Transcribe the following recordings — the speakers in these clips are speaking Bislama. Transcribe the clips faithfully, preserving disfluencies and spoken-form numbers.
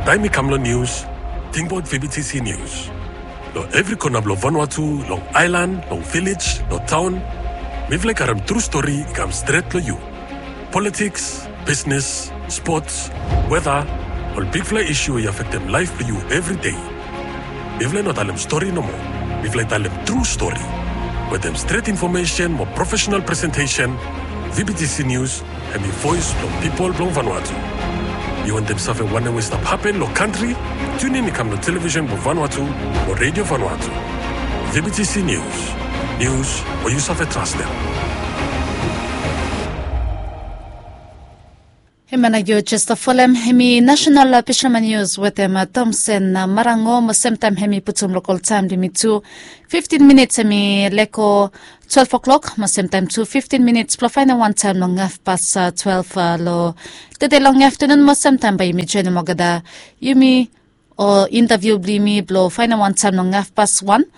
Taem i kam long nius, tingbaot V B T C Nius. Long evri kona blong Vanuatu, long aelan, long vilej, long taon, mifala i karem tru stori i kam stret long yu. Politiks, bisnes, spots, weta, ol bigfala isu we i afektem laef blong yu evri dei. Mifala i no talem stori nomo. Mifala i talem tru stori. Wetem stret infomesen mo profesenal presentesen, V B T C Nius hem i voes blong pipol blong Vanuatu. Yu wantem save wanem we i stap hapen long kantri? Tunin i kam long televisen blong Vanuatu mo Redio Vanuatu. V B T C Nius. Nius we yu save trastem. Hemia nao yu jes stap folem, hem i nasenal, a, Bishlama Nius wetem, a, Tomsen, a, Marango, mo semtaem hem i putum lokol taem blong yumi tu, fiftin minits hem i lego twelef oklok, mo semtaem tu fiftin minits blong faenem wan taem long hafpas, a, twelef, a, long tede long aftenun, mo semtaem bae yumi joenem olgeta yumi o intaviu blong yumi blong faenem wan taem long hafpas wan.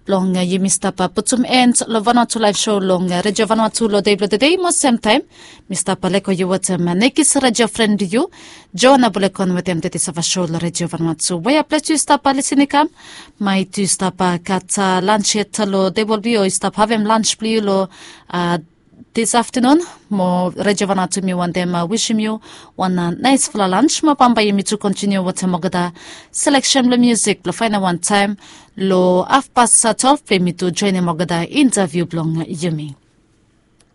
Blong, a, yumi stap, a, putum en long Vanuatu Laef Sou long, a, Redio Vanuatu long dei blong tede, mo semtaem mi stap, a, lego yu wetem, a, Nekis redio fren blong yu, Joana Bulekon wetem tede sava sou long Redio Vanuatu. Wea ples yu stap, a, lisin i kam? Maet yu stap, a, gat, a, lans yet long tebol blong yu, o yu stap havem lans blong yu long, a, dis aftenun, mo Redio Vanuatu mi wantem, a, wisim yu wan, a, naesfala lans, mo bambae yumi tu kontiniu wetem olgeta seleksen blong miusik blong faenem wan taem long hafpas, a, twelef blong yumi tu joenem olgeta intaviu blong yumi.